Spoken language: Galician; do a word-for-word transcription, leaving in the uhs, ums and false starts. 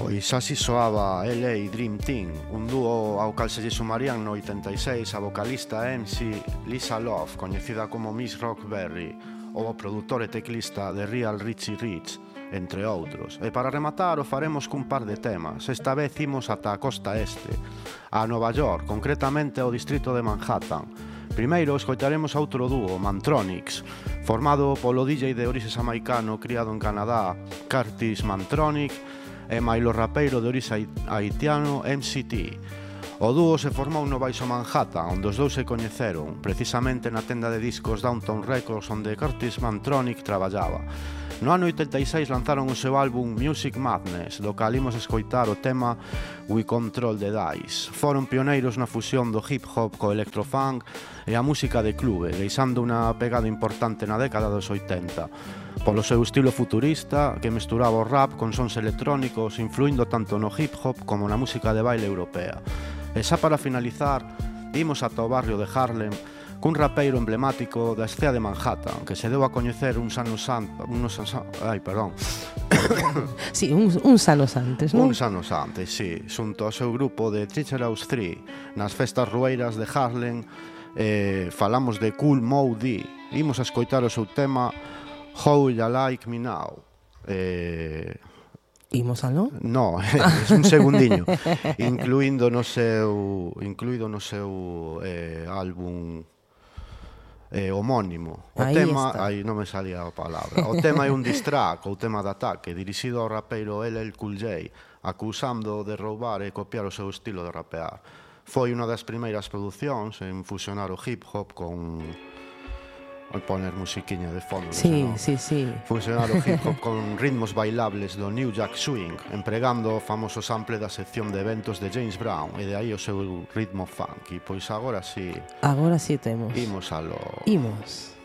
Pois así soaba L A Dream Team, un dúo ao cal se lle sumarían no oitenta e seis a vocalista M C Lisa Love, coñecida como Miss Rockberry, ou o produtor e teclista de Real Richie Rich, entre outros. E para rematar o faremos cun par de temas. Esta vez imos ata a costa este, a Nova York, concretamente ao distrito de Manhattan. Primeiro escoitaremos outro dúo, Mantronix, formado polo D J de orixe xamaicano criado en Canadá, Curtis Mantronic, e mailo rapeiro de orixe haitiano M C T. O dúo se formou no Baixo Manhattan, onde os dous se coñeceron, precisamente na tenda de discos Downtown Records onde Curtis Mantronic traballaba. No ano oitenta e seis lanzaron o seu álbum Music Madness, do cal imos escoitar o tema We Control the Dice. Foron pioneiros na fusión do hip hop co electrofunk e a música de clube, deixando unha pegada importante na década dos oitenta. Polo seu estilo futurista, que mesturaba o rap con sons electrónicos, influindo tanto no hip hop como na música de baile europea. E xa para finalizar, imos ata o barrio de Harlem, cun rapeiro emblemático da escena de Manhattan, que se deu a coñecer uns anos antes, unos ai, perdón. Sí, uns, uns anos antes, non? Uns anos antes, sí, xunto ao seu grupo de Treacherous tres, nas festas rueiras de Harlem, eh, falamos de Kool Moe Dee. Imos a escoitar o seu tema How You Like Me Now. Eh... Imos aló? No, é un segundiño. Incluindo no seu, incluído no seu eh, álbum eh, homónimo. O aí tema, está. aí non me salía a palabra. O tema é un diss track, ou tema de ataque, dirixido ao rapeiro L L Cool J, acusando de roubar e copiar o seu estilo de rapear. Foi unha das primeiras producións en fusionar o hip hop con... Vou poner musiquiña de fondo. Sí, no? sí, sí. Fusionar o hip hop con ritmos bailables do New Jack Swing, empregando o famoso sample da sección de eventos de James Brown, e de aí o seu ritmo funky. Pois agora sí. Agora sí temos. Imos a lo... Imos.